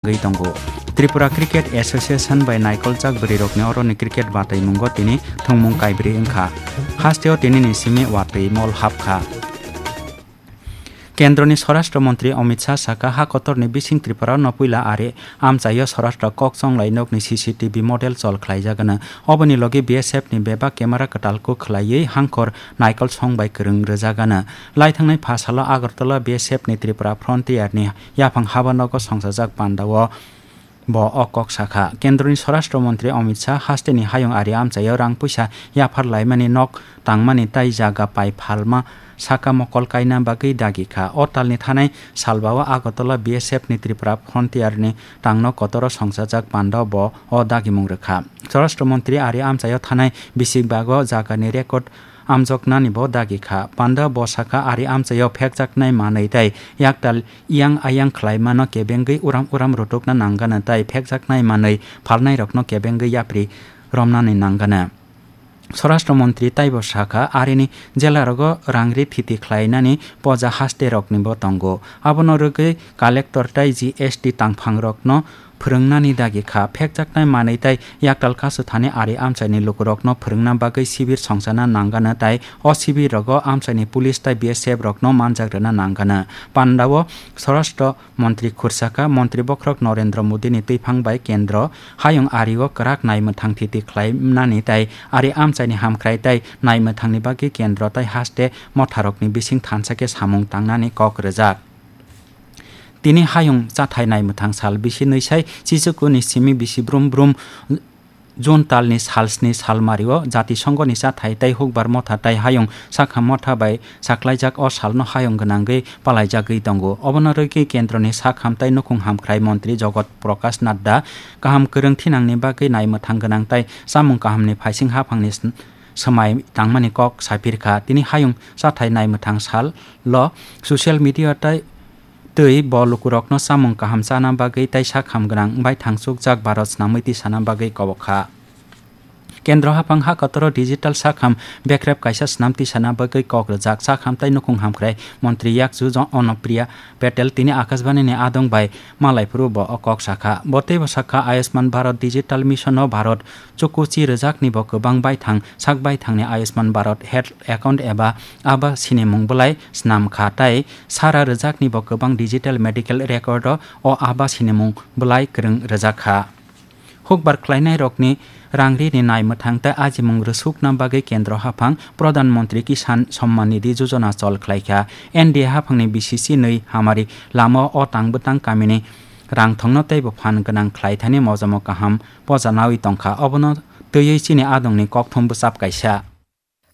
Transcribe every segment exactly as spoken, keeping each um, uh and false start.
wngwi tongo. Tripura Cricket Association bai naikoljak bwrwirokni oroni cricket batwimungo tini thwngmung kaibrwi wngkha. Hasteo tinini simi watwi mol hapkha. Kendroni Swarashtra Montri Amit Shah saka, ha kotorni bising Tripura no puila ari amchaio Swarashtra kok chonglai nokni C C T V model chol khlaijagano. Oboni logi B S F ni bebak camera kwtal kuk khlaiwi hangkhor naikol song bai kwrwng rwjagano. Laithangnai pha salo Agartala B S F ni Tripura Frontier ni yaphang haba nogo songsajak pandao bo o kok sakha. Kendroni Swarashtra Montri Amit Shah hasteni hayung ari amchaio rang puisa yaphar laimani, nok tangmani tai jaga pai phalma saka mokol kaina bagwi dagi kha. O talni thanai salbao Agartala B S F ni Tripura Frontier ni tangno kotoro songsajak pandao bo o dagimung rwkha. Swarashtra Montri ari amchaio thanai bisik bago jagani record amjoknani bo dagi kha. Panda bo sakha, ari amchaio phekjaknai manwi tei yaktal iyang ayang khlaimano kebengwi uram uram rutukna nangano tei phekjaknai manwi phalnairokno kebengwi yapri romnani nangano. Swarashtra Montri taibo sakha, arini jelarogo rangri thiti khlainani poja hasteroknibo tongo. Abono rwgwi collector tei G S T tangphangrokno phwrwngnani dagi kha. Phekjaknai manwi tei yaktal kasu thani ari amchaini lukurokno phwrwngna bagwi sibir songsana nangano tei o sibirrogo amchaini police tei B S F rokno manjak rwna nangano. Pandao Swarashtra Montri khursaka, Montri bokhorok Narendra Modini twiphang bai kendro hayung ario kwrak naimwthang thiti khlaimnani tei ari amchaini hamkhrai tei naimwthangni bagwi kendro tei haste motharokni bising thansa khe samung tangnani kok rwjak. Tini hayung chathai naimwthang sal bisi nwisai chichukuni simi bisi brum brum June talni sal sni salmario Jatisongoni chathai tei hukbar motha tei hayung sakham motha bai saklaijak o salno hayung gwnangwi palaijagwi tongo. Obono rwgwi kendroni sakham tei nukhung hamkhrai montri Jogot Prakash Nadda kaham kwrwng thinangni bagwi naimwthang gwnang tei chamung kahamni phaising haphangni sn-, swmai tangmani kok saphirkha. Tini hayung chathai naimwthang salo social media tei twi bo lukurokno chamung kaham chana bagwi tei sakham gwnang wngbai thangchukjak Bharat snamwi tisana bagwi kobok kha. Kendro haphang ha kotoro digital sakham bekrep kaisa snam tisana bagwi kok rwjak. Sakham tei nukhung hamkhrai montri yakchu jo Onopriya Patel tini Akashbani ni adong bai malai phuru bo o kok sakha. Bo teibo sakha, Ayushman Bharat Digital Mission o Bharat chukuchi rwjakni bo kwbang baithang sak baithangni Ayushman Bharat Health Account eba aba sinimung bwlai snam kha tei sara rwjakni bo kwbang digital medical record o o aba sinimung bwlai kwrwng rwjak kha. Hukbar khlainairokni rangrini naimwthang tei ajimung rwsukna bagwi kendro haphang Pradhan Mantri Kisan Samman Nidhi Yojana chol khlaikha. N D A haphangni B C C nwi hamari lama o tang bwtang kamini rangthongno teibo phan gwnang khlaithani mojamo kaham poja nawi tongkha. Obono twiwi chini adongni kokthum bwchap kaisa.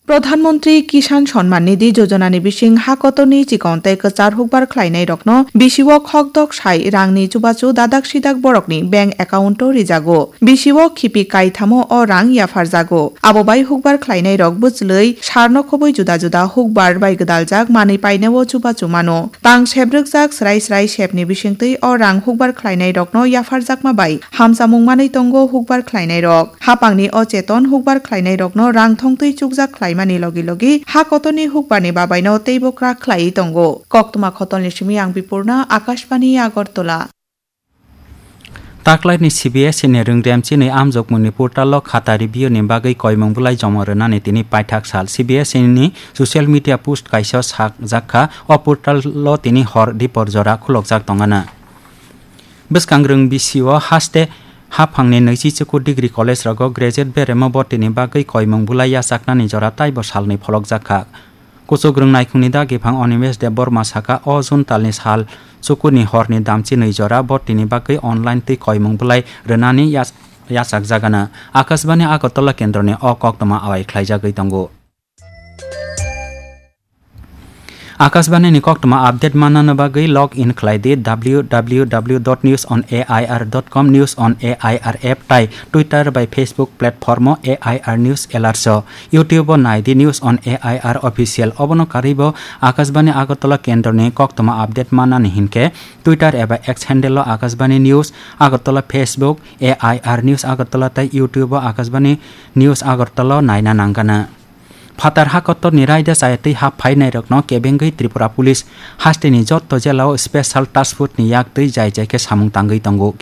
Pradhan Mantri Kisan Samman Nidhi Yojana ni bising ha kotorni chikon tei kwchar hukbar khlainairokno bisio khokdok sai rangni chubachu dadak sidak borokni bank account o rijago. Bisio khipi kaithamo o rang yapharjago. Abo bai hukbar khlainairok bwchlwi sarno khobwi juda juda hukbar bai gwdaljak manwi painao chubachu mano. Tang sebrwkjak srai srai sepni bisingtwi o rang hukbar khlainairokno yapharjakma bai hamchamung manwi tongo hukbar khlainairok. Hapangni o cheton hukbar khlainairokno rang thongtwi chukjak khlaimani logi logi ha kotorni hukbarni babaino teibo kwrak khlaiwi tongo. Koktwma khotolni simi ang Bipurna, Akashbani, Agartala. Taklaini C B S E ni rwngrem chinwi amjokmungni portal o khata review ni bagwi koimung bwlai joma rwnani tini paithak sal. C B S E ni social media post kaisa sakjak kha, o portal o tini hor dipor jora khulokjak tongana. Bwskangrwng bisio haste haphangni nwichi chukur degree college rogo graduate beremo botini bagwi koimung bwlai yachaknani jora taibo salnwi pholokjak kha. Kuchukrwng naikhungni dagiphang Animesh Debbarma saka, o June talni sal chukurni horni damchi nwi jora botini bagwi online twi koimung bwlai rwnani yach-, yachakjagana. Akashbani Agartala kendroni o koktwma awai khlaijagwi tongo. Akashbani ni koktwma update mannani bagwi log in khlai di W W W dot news on A I R dot com, News on A I R app tai Twitter bai Facebook platform o A I R News Alerts o. YouTube o nai di News on A I R Official. Obono karwi bo Akashbani Agartala kendroni koktwma update mannani hinkhe Twitter eba X handle o Akashbani News Agartala, Facebook A I R News Agartala tai YouTube o Akashbani News Agartala o naina nangana. Phatar ha kotorni raida chayatwi hap phainairokno kebengwi Tripura Police hasteni jotto jela o Special Task Force ni yak twi jai jai khe samung tangwi tongo.